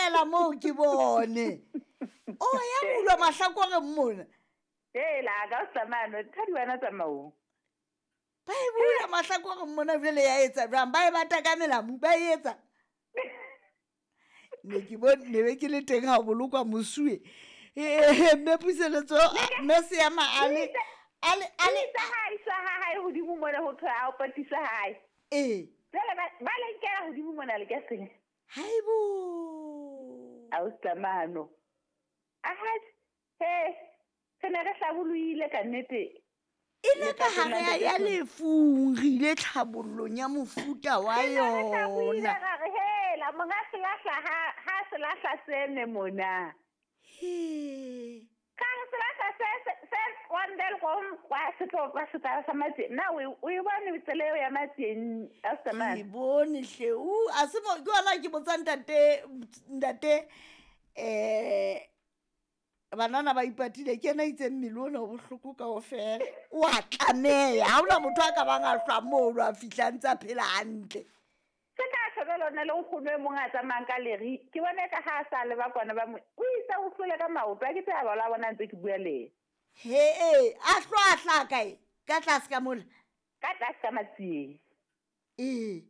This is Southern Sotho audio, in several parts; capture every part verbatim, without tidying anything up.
Theohela moo ke bone. O ya bulwa mahlakoreng mona. Hela ka o tsamano thadi wena tsamaong. Ba e bula mahlakoreng mona jwale ya etsa jwang? Ba e bata ka melamu ba e etsa. Ne ke bone ne be ke le teng ha bolokwa mosuwe. Eh mme Puseletso mme Seema a le a le a le Isa ha isa ha hae hodimo mona ho thwe a o patisa hae. Eh. Jwale ba ba le nkela hodimo mona le ka seng. Haibo. A o tsamano. Aha. He. Re ne re hlabollohile ka nnete. E le ka hare ya lefung re ile tlhabollong ya mofuta wa yona. Ra re hela monga selahla ha ha selahla se ne mona. He. Ka re selahla se se wandel go kwa se tlo kwa se tla sa matse. Na o o e bone tsela eo ya matseng a tsamaya. Ke bone hle. U a se mo ke wona ke botsa ntate ntate eh banana ba ipatile ke ena itseng mmele ona o bohloko kaofela. O a tlameha. Ha hona motho a ka bang a hlwa moo a fihla ntse a phela hantle. Se ka shebela lona le nkgono e mong a tsamayang ka leri. Ke bona ka ha a sa le ba kwana ba mo. O itse o hlole ka maoto a ke tseba ba la bona ntse ke bua le. He e a hlwa a hla kae? Ka tlase ka mola. Ka tlase ka matsieng. Ee.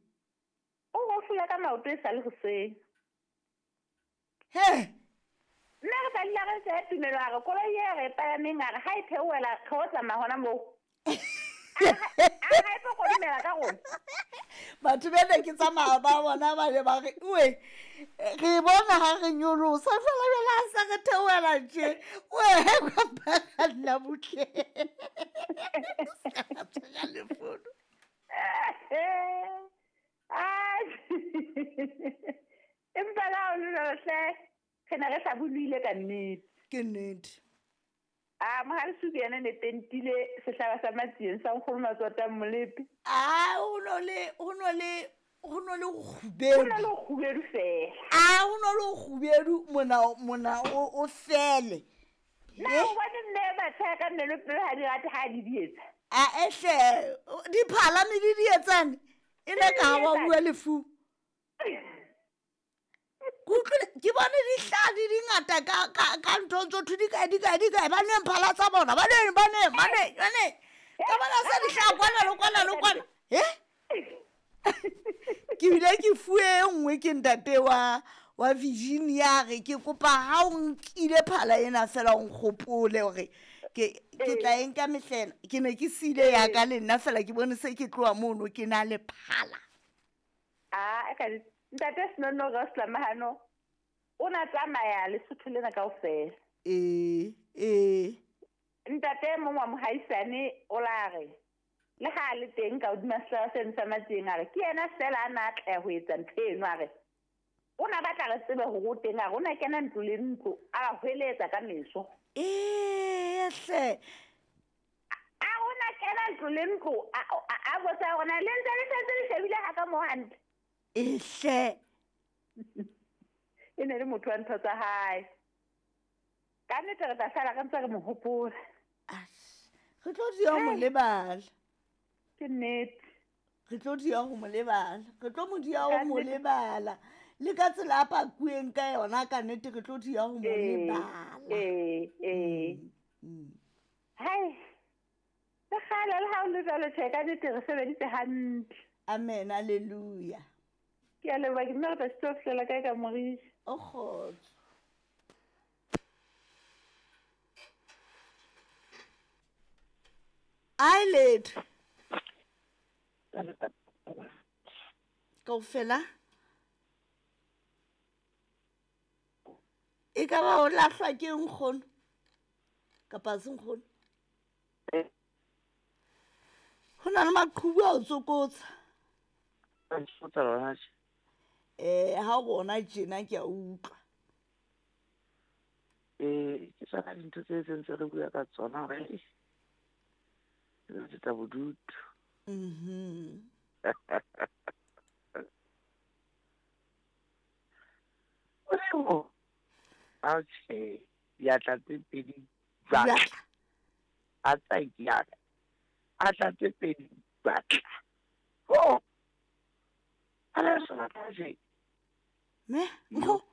O go hlole ka maoto e sa le hoseng. He. Nna re tla dula re tseya tumelo a re koloi e re e palameng a re ha e theohela re o tsamaya hona moo. A re ha e tlo kodumela ka rona. Batho ba ne ke tsamaya ba bona ba ne ba re oe re bona ha re nyolosa fela jwale ha sa re theohela tje. Oe kwa ba kganna butle. Sa tshwara le fono. Ai. Empa la o le hle. Re ne re hlabollohile ka nnete. Ke nnete. A mohale suku yena ne tentile sehlaba sa matsieng sa nkgono Matswata Molepe. A o no le o no le ho no le kgubedu. Ho no le kgubedu fela. A ho no le kgubedu mona mona o o fele. Na o bone mme batho ka nne le pele ha di rate ha di di etsa. A ehle di phala me di di etsane. E le ka wa bua lefu. Kutlwe ke bone dihladi di ngata ka ka ka ntho tso thu di kae di kae di kae ba nweng phala tsa bona ba nweng ba nweng ba nweng ba nweng ka bona se di hlaha kwana le kwana le kwana he ke bile ke fuwe e nngwe ke ntate wa wa Virginia re ke kopa ha o nkile phala ena fela o nkgopole hore ke ke tla e nka mehlela ke ne ke sile ya ka le nna fela ke bone se ke tloha mono ke na le phala. Ah ka ntate Senono Roslamahano o na tsamaya Lesotho lena kaofela. Eh eh ntate mong wa mohaisane o la re le ha le teng ka hodima sehlaba seno sa matsieng a re ke yena fela a na atleha ho etsa ntho eno a re o na batla re tsebe hore o teng a re o na kena ntlo le ntlo a ba hweletsa ka meso. Eh hle a o na kena ntlo le ntlo a botsa hore na le ntse le sentse le shebile ha ka mo hantle. Ehle e ne le motho wa ntho tsa hae. Ka nnete re tla sala re ntse re mo hopola. Re tlo dia mo lebala. Ke nnete. Re tlo dia ho mo lebala. Re tlo mo dia ho mo lebala. Le ka tsela a pakueng ka yona ka nnete re tlo dia ho mo lebala. Eh eh. Hai. Le kgale le ha o le jwalo tjhe ka nnete re sebeditse hantle. Amen, hallelujah. Ke a leboha ke nna re tla sitwa ho fihlela kae ka morisi. O kgotso. Ai letho. Kaofela. E ka ba o lahlwa ke nkgono kapa se nkgono. Ho na le maqhubu a o tsokotsa. Eh ha o bona tjena ke a utlwa. Eh ke tsona dintho tse tse re bua ka tsona hore re tsa bodutu. Mhm. O a tjhe ya tla tse pedi batla. A tsa ya a tla tse pedi batla. Oh. Ala sona ka je. Me, nkgo